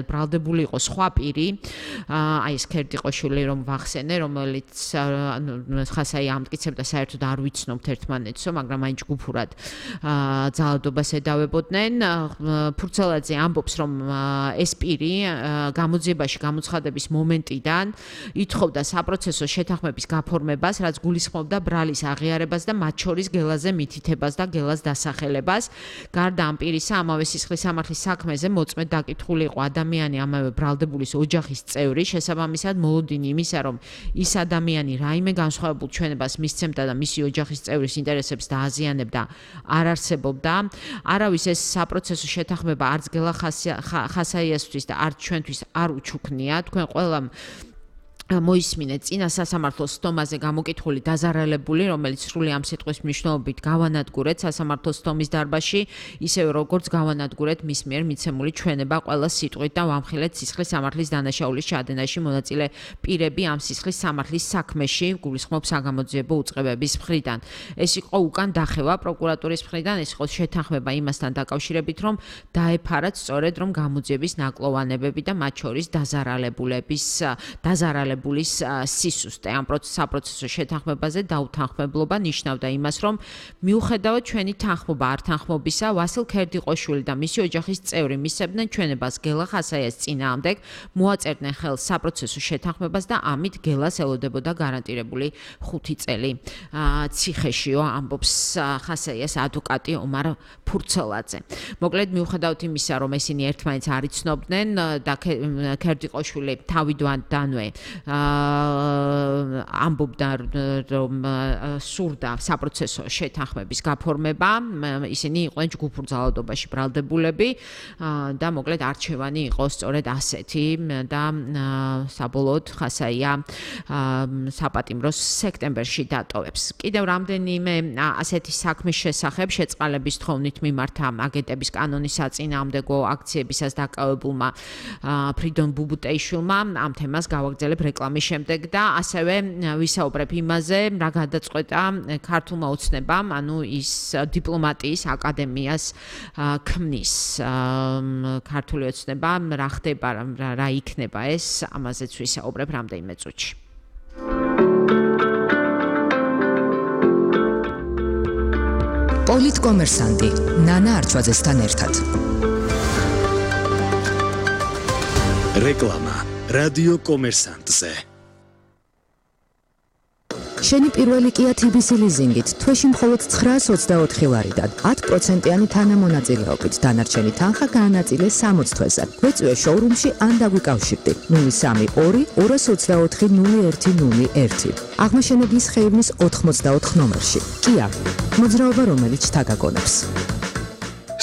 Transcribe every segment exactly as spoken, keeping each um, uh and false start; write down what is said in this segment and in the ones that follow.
ბრალდებული იყო სხვა პირი, აი ეს ქერდიყოშვილი რომ ვახსენე, რომელიც ხასაი ამტკიცებდა საერთოდ არ ვიცნობთ ერთმანეთსო, მაგრამ აი ჯგუფურად ძალადობას ედავებოდნენ. ფურცელაძე ამბობს, რომ ეს პირი გამოძიებაში გამოცხადების მომენტიდან ითხოვდა საპროცესო შეთანხმების გაფორმებას, რაც გულისხმობდა ბრალის აღიარებას და მათ შორის გელაზე მითითებას და გელას დასახელებას. გარდა ამ პირისა, ამავე სისხლის სამართლის საქმეზე მოწმედ დაკითხული იყო ადამიანი ამავე ბრალდებულის ოჯახის წევრი, შესაბამისად მოლოდინი იმისა, რომ ის ადამიანი რაიმე განსხვავებულ ჩვენებას მისცემდა და მისი ოჯახის წევრის ინტერესებს დააზიანებდა, არ არსებობდა. არავის ეს საპროცესო შეთანხმება არც გელა ხასაიასთვის და არც ჩვენთვის არ უჩუქნია. თქვენ ყველამ მოისმინეთ წინა სასამართლოს სტომაზე გამოკითხული დაზარალებული, რომელიც სრული ამ სიტყვის მნიშვნელობით გავანადგურეთ სასამართლოს სტომის დარბაზში, ისევე როგორც გავანადგურეთ მის მიერ მიცემული ჩვენება ყველა სიტყვით და ვამხილეთ სისხლის სამართლის დანაშაულის ჩადენაში მონაწილე პირები ამ სისხლის სამართლის საქმეში, გულისხმობ საგამოძიებო უწყებების მხრიდან. ეს იყო უკან დახევა პროკურატურის მხრიდან, ეს იყო შეთანხმება იმასთან დაკავშირებით, რომ დაეფარათ სწორედ რომ გამოძიების ნაკლოვანებები და მათ შორის დაზარალებულების დაზარალებულების სისუსტე. ამ საპროცესო შეთანხმებაზე დაუთანხმებლობა ნიშნავდა იმას, რომ მიუხედავად ჩვენი თანხმობა არ თანხმობისა, ვასილ ქერდიყოშვილი და მისი ოჯახის წევრი მისცემდნენ ჩვენებას გელა ხასაიას წინააღმდეგ, მოაწერდნენ ხელს საპროცესო შეთანხმებას და ამით გელას ელოდებოდა გარანტირებული ხუთი წელი ციხეშიო, ამბობს ხასაიას ადვოკატი ომარ ფურცელაძე. მოკლედ მიუხედავად იმისა, რომ ესენი ერთმანეთს არ იცნობდნენ და ქერდიყოშვილი თავიდანვე ამბობდა, რომ სურდა საპროცესო შეთანხმების გაფორმება, ისინი იყვნენ ჯგუფურ ძალადობაში ბრალდებულები და მოკლედ არჩევანი იყო სწორედ ასეთი და საბოლოოდ ხასაია საპატიმროს სექტემბერში დატოვებს. კიდევ რამდენიმე ასეთი საქმის შესახებ შეწყალების თხოვნით მიმართა აგენტების კანონის საწინააღმდეგო აქციებისას დაკავებულმა ფრიდონ ბუბუტეიშვილმა ამ თემას გავაგრძელებ რეკლამის შემდეგ და ასევე ვისაუბრებ იმაზე, რა გადაწყვეტა ქართულმა ოცნებამ, ანუ ის დიპლომატიის აკადემიას ქმნის. ქართული ოცნება რა ხდება, რა იქნება ეს, ამაზეც ვისაუბრებ რამდენიმე წუთში. პოლიტკომერსანტი ნანა არჩვაძესთან ერთად. რეკლამა რადიო კომერსანტზე. შენი პირველი Kia T B C ლიზინგით თვეში მხოლოდ ცხრაას ოცდაოთხი ლარიდან ათ პროცენტიანი თანამონაწილეობით დანარჩენი თანხა გაანაწილე სამოც თვეზე. გვეწვიე შოურუმში ან დაგვიკავშირდი ნული სამი ორი ორას ოცდაოთხი ნული ერთი ნული ერთი. აღმაშენებლის ხეივნის ოთხმოცდაოთხ ნომერში. Kia, მოძრაობა რომელიც თაგაგონებს.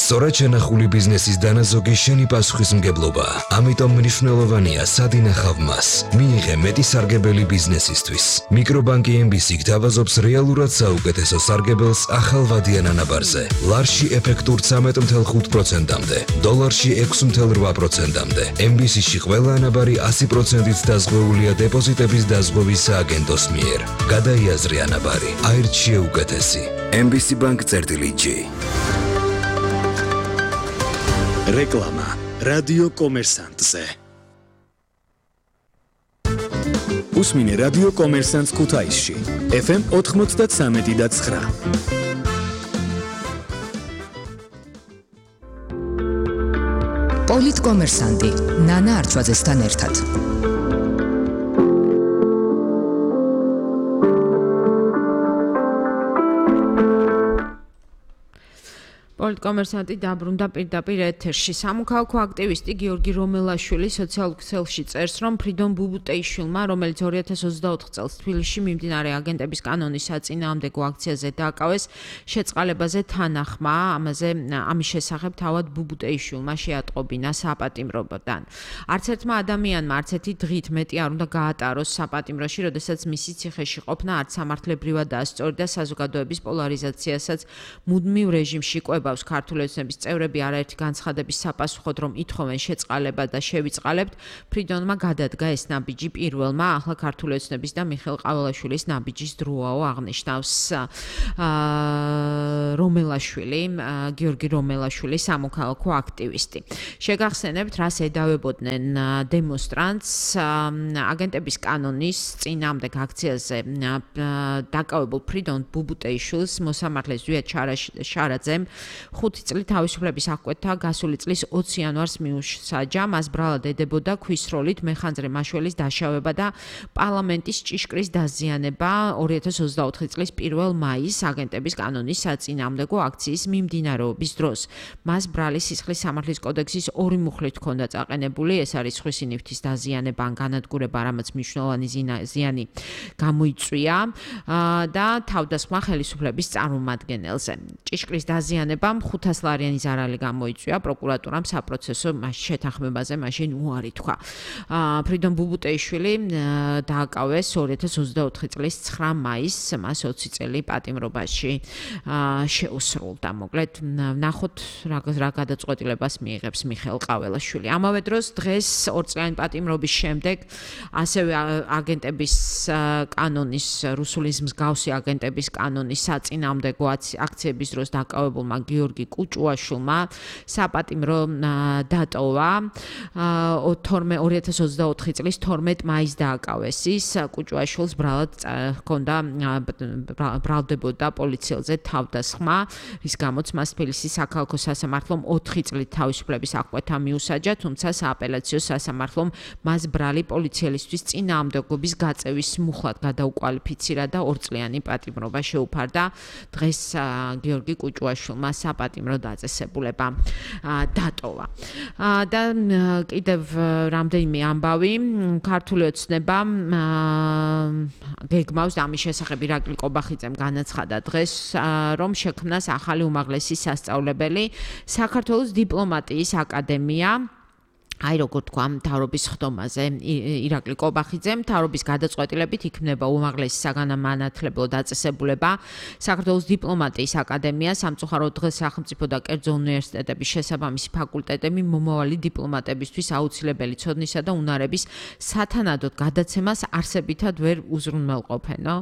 სწორად შენახული ბიზნესის დანაზოგი შენი პასუხისმგებლობა. ამიტომ მნიშვნელოვანია სად ინახავ მას. მიიღე მეტი სარგებელი ბიზნესისთვის. მიკრობანკი M B C გთავაზობს რეალურად საუკეთესო სარგებელს ახალ ვადიან ანაბარზე. ლარში ეფექტურ ცამეტ ათი ხუთი პროცენტამდე, დოლარში ექვსი ათი რვა პროცენტამდე. M B C-ში ყველა ანაბარი ასი პროცენტით დაზღვეულია დეპოზიტების დაზღვევის სააგენტოს მიერ. გადაიაზრე ანაბარი, აირჩიე უკეთესი. M B C Bank წერტილი G. რეკლამა რადიო კომერსანტზე. უსმინე რადიო კომერსანტს ქუთაისში F M ოთხმოცდათრამეტი და ცხრა. პოლიტკომერსანტი ნანა არჩვაძესთან ერთად. პოლიტკომერსანტი დაბრუნდა პირდაპირ ეთერში. სამოქალაქო აქტივისტი გიორგი რომელაშვილი სოციალურ ქსელში წერს, რომ ფრიდონ ბუბუტეიშვილმა, რომელიც ორი ათას ოცდაოთხ წელს თბილისში მიმდინარე აგენტების კანონის საწინააღმდეგო აქციაზე დააკავეს, შეწყალებაზე თანახმა, ამაზე ამის შესახებ თავად ბუბუტეიშვილმა შეატყობინა საპატიმროდან. არც ერთმა ადამიანმა არც ერთი დღით მეტი არ უნდა გაატაროს საპატიმროში, როდესაც მისი ციხეში ყოფნა არც სამართლებრივადაა სწორი და საზოგადოების პოლარიზაციასაც მუდმივ რეჟიმში ყვება. მოძრაობს ქართული ოცნების წევრები არაერთი განცხადების საპასუხოდ, რომ ითხოვენ შეწყალება და შევიწყალებთ, ფრიდონმა გადადგა ეს ნაბიჯი პირველმა ახლა ქართული ოცნების და მიხეილ ყაველაშვილის ნაბიჯის დროაო აღნიშნავს რომელაშვილი, გიორგი რომელაშვილი, სამოქალაქო აქტივისტი. შეგახსენებთ, რას ედავებოდნენ დემონსტრანტს აგენტების კანონის წინააღმდეგ აქციაზე დაკავებულ ფრიდონ ბუბუტეიშვილს მოსამართლეს ზვიად შარაძემ ხუთი წლით თავისუფლების აღკვეთა გასული წლის ოცი იანვარს მიუსაჯა. მას ბრალად ედებოდა ქვის როლით მეხანძრე მაშველის დაშავება და პარლამენტის ჭიშკრის დაზიანება ორი ათას ოცდაოთხი წლის პირველ მაისს აგენტების კანონის საწინააღმდეგო აქციის მიმდინარეობის დროს. მას ბრალი სისხლის სამართლის კოდექსის ორი მუხლით ჰქონდა წაყენებული, ეს არის სხვისი ნივთის დაზიანება ან განადგურება, რამაც მნიშვნელოვანი ზიანი გამოიწვია და თავდასხმა ხელისუფლების წარმომადგენელზე. ჭიშკრის დაზიანებამ ხუთას ლარიანი ზარალი გამოიწვია, პროკურატურამ საპროცესო შეთანხმებაზე მაშინ უარი თქვა. ფრიდონ ბუბუტეიშვილი დააკავეს ორი ათას ოცდაოთხი წლის ცხრა მაისს, მას ოცი წელი პატიმრობაში შეუსრულდა. მოკლედ ნახოთ რა გადაწყვეტილებას მიიღებს მიხეილ ყაველაშვილი. ამავე დროს დღეს ორწლიანი პატიმრობის შემდეგ ასევე აგენტების კანონის, რუსულის მსგავსი აგენტების კანონის საწინააღმდეგო აქციების დროს დაკავებულმა გიორგი კუჭუაშვილმა საპატიმრო დატოვა. ორი ათას ოცდაოთხი წლის თორმეტ მაისს დააკავეს ის. კუჭუაშვილს ბრალად ჰქონდა ბრალდებოდა პოლიციელზე თავდასხმა, რის გამოც მას თბილისის საქალაქო სასამართლომ ოთხი წლით თავისუფლების აღკვეთა მიუსაჯა, თუმცა სააპელაციო სასამართლომ მას ბრალი პოლიციელისთვის წინააღმდეგობის გაწევის მუხლად გადაუკვალიფიცირა და ორწლიანი პატიმრობა შეუფარდა. დღეს გიორგი კუჭუაშვილმა საპატიმრო დაწესებულება დატოვა. და კიდევ რამდენიმე ამბავი, ქართული ოცნება გეგმავს და ამის შესახებ ირაკლი კობახიძემ განაცხადა დღეს, რომ შექმნას ახალი უმაღლესი სასწავლებელი საქართველოს დიპლომატიის აკადემია. აი როგორ თქვა მთავრობის ხდომაზე ირაკლი კობახიძე, მთავრობის გადაწყვეტილებით იქმნება უმაღლესი საგანმანათლებლო დაწესებულება საქართველოს დიპლომატიის აკადემია, სამწუხაროდ დღეს სახელმწიფო და კერძო უნივერსიტეტების შესაბამისი ფაკულტეტები მომავალი დიპლომატებისთვის აუცილებელი ცოდნისა და უნარების სათანადოდ გადაცემას არსებითად ვერ უზრუნველყოფენო.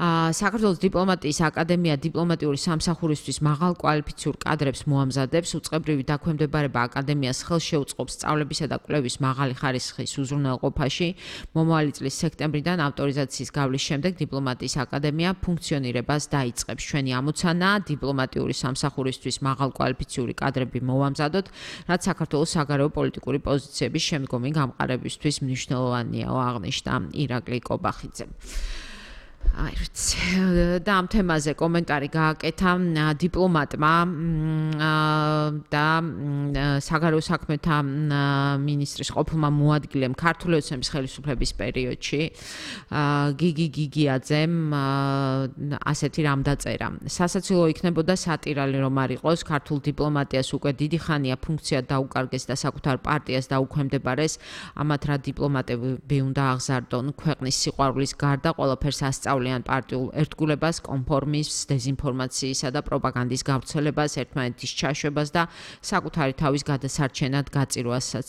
საქართველოს დიპლომატიის აკადემია დიპლომატიური სამსახურისთვის მაღალკვალიფიციურ კადრებს მოამზადებს, უწყებრივი დაქვემდებარება აკადემიას ხელს შეუწყობს სწავლებისა და კვლევის მაღალი ხარისხის უზრუნველყოფაში. მომავალი წლის სექტემბრიდან ავტორიზაციის გავლის შემდეგ დიპლომატიის აკადემია ფუნქციონირებას დაიწყებს. ჩვენი ამოცანაა დიპლომატიური სამსახურისთვის მაღალკვალიფიციური კადრები მოვამზადოთ, რაც საქართველოს საგარეო პოლიტიკური პოზიციების შემდგომი გამყარებისთვის მნიშვნელოვანია, აღნიშნა ირაკლი კობახიძე. აი და ამ თემაზე კომენტარი გააკეთა დიპლომატმა და საგარეო საქმეთა მინისტრის ყოფილმა მოადგილემ ქართული ოცნების ხელისუფლების პერიოდში გიგი გიგიაძემ ასეთი რამ დაწერა. სასაცილო იქნებოდა სატირალი რომ არ იყოს, ქართულ დიპლომატიას უკვე დიდი ხანია ფუნქცია დაუკარგეს და საკუთარ პარტიას დაუქვემდებარეს, ამათ რა დიპლომატები უნდა აღზარდონ ქვეყნის სიყვარულის გარდა ყველაფერს ასწავლიან პარტიულ ერთგულებას, კონფორმიზმს, დეზინფორმაციისა და პროპაგანდის გავრცელებას, ერთმანეთის ჩაშვებას და საკუთარი თავის გადასარჩენად გაწირვასაც.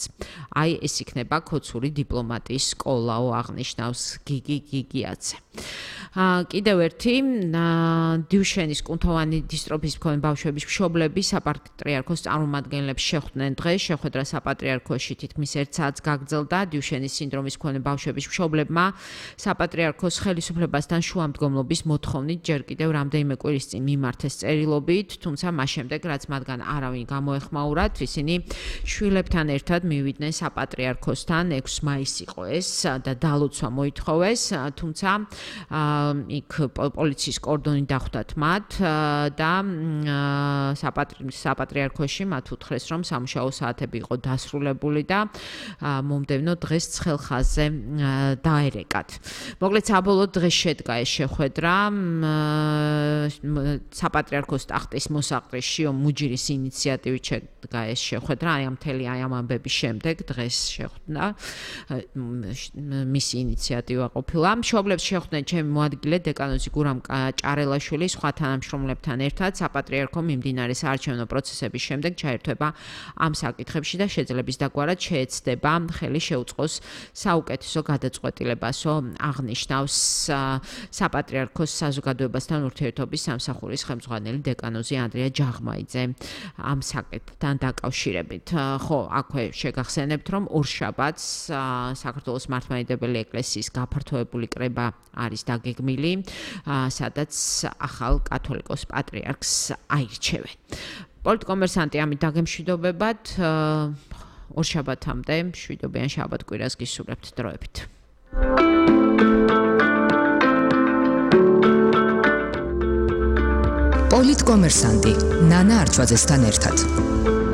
აი ეს იქნება ქოცური დიპლომატიის სკოლაო, აღნიშნავს გიგი გიგიაძე. კიდევ ერთი დიუშენის კუნთოვანი დისტროფიის მქონე ბავშვების მშობლები საპატრიარქოს წარმომადგენლებს შეხვდნენ დღეს. შეხვედრა საპატრიარქოში თითქმის ერთ საათს გაგრძელდა. დიუშენის სინდრომის მქონე ბავშვების მშობლებმა საპატრიარქოს ხელისუფლებასთან შუამდგომლობის მოთხოვნით ჯერ კიდევ რამდენიმე კვირის წინ მიმართეს წერილობით, თუმცა მას შემდეგ, რაც მათგან არავინ გამოეხმაურათ, ისინი შვილებთან ერთად მივიდნენ საპატრიარქოსთან. ექვსი მაისი იყო ეს და დალოცვა მოითხოვეს, თუმცა იქ პოლიციის კორდონი დახვდათ მათ და საპატრიარქოში მათ უთხრეს, რომ სამუშაო საათები იყო დასრულებული და მომდევნო დღეს ცხელ ხაზზე დაერეკათ. მოკლედ საბოლოოდ დღეს შედგა ეს შეხვედრა საპატრიარქოს ტახტის მოსაყრის შიო მუჯირის ინიციატივით შედგა ეს შეხვედრა, აი ამ მთელი აი ამ ამბების შემდეგ დღეს შეხვდა მისი ინიციატივა ყოფილა. მშობლებს შეხვდნენ ჩემი მოადგილე დეკანოზი გურამ ჭარელაშვილი სხვა თანამშრომლებთან ერთად საპატრიარქო მიმდინარე საარჩევნო პროცესების შემდეგ ჩაერთვება ამ საკითხებში და შეძლების დაგვარად შეეცდება ხელი შეუწყოს საუკეთესო გადაწყვეტილებასო აღნიშნავს საპატრიარქოს საზოგადოებასთან ურთიერთობის სამსახურის ხელმძღვანელი დეკანოზი ანდრია ჯაღმაიძე ამ საკითხთან დაკავშირებით. ხო, აქვე შეგახსენებთ, რომ ორშაბათს საქართველოს მართლმადიდებელი ეკლესიის გაფართოებული კრება არის დაგეგმილი, სადაც ახალ კათოლიკოს პატრიარქს აირჩევენ. პოლიტკომერსანტი ამით დაგემშვიდობებად, ორშაბათამდე მშვიდობიან შაბათ-კვირას გისურვებთ დროებით. პოლიტკომერსანტი ნანა არჩვაძესთან ერთად.